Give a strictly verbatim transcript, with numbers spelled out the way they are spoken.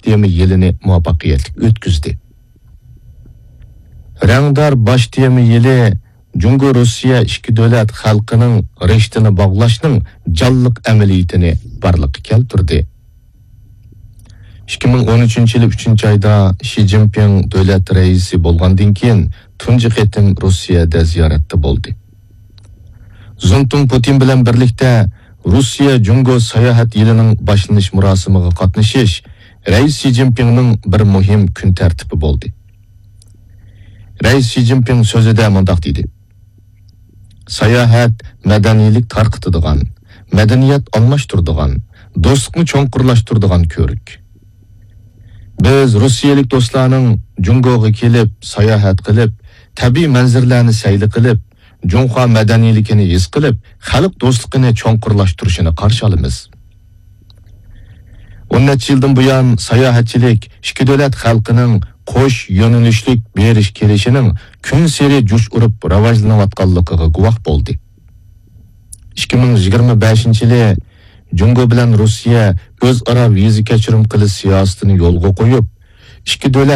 تېما يىلىنى مۇۋەپپەقىيەتلىك ئۆتكۈزدى. رەڭدار باش تېما يىلى جۇڭگو-روسىيە ئىككى دۆلەت خەلقىنىڭ رىشتىنى باغلاشنىڭ جانلىق ئەمەلىيىتىنى بارلىققا كەلتۈردى. ئىككى مىڭ ئون ئۈچىنچى يىلى ئۈچىنچى ئايدا شى جىنپىڭ دۆلەت رەئىسى بولغاندىن كېيىن تۇنجى قېتىم روسىيەدە زىيارەتتە بولدى. زۇنتۇڭ پۇتىن بىلەن بىرلىكتە روسىيە جۇڭگو ساياھەت يىلىنىڭ باشلىنىش مۇراسىمىغا قاتنىشىش رەئىس شى جىنپىڭنىڭ بىر مۇھىم كۈن تەرتىپى بولدى. رەئىس شى جىنپىڭ سۆزىدە مۇنداق دېدى: ساياھەت مەدەنىيلىك تارقىتىدىغان، مەدەنىيەت ئالماشتۇرىدىغان، دوستلۇقنى چوڭقۇرلاشتۇرىدىغان كۆۋرۈك. بىز روسىيەلىك دوستلارنىڭ جۇڭگوغا كېلىپ، ساياھەت قىلىپ، تەبىئىي مەنزىرىلەرنى سەيلە قىلىپ، جۇڭخۇا مەدەنىيلىكىنى ھېس قىلىپ، خەلق دوستلۇقىنى چوڭقۇرلاشتۇرۇشىنى قارشى ئالىمىز. ئون نەچچە يىلدىن بۇيان ساياھەتچىلىك ئىككى دۆلەت خەلقىنىڭ قوش يۆنىلىشلىك بېرىش كېلىشىنىڭ كۈنسېرى جۇش ئۇرۇپ راۋاجلىنىۋاتقانلىقىغا گۇۋاھ بولدى. ئىككى مىڭ يىگىرمە بەشىنچى يىلى جۇڭگو بىلەن روسىيە ئۆزئارا ۋىزا كەچۈرۈم قىلىش سىياسىتىنى يولغا قويۇپ، ئىككى دۆلەت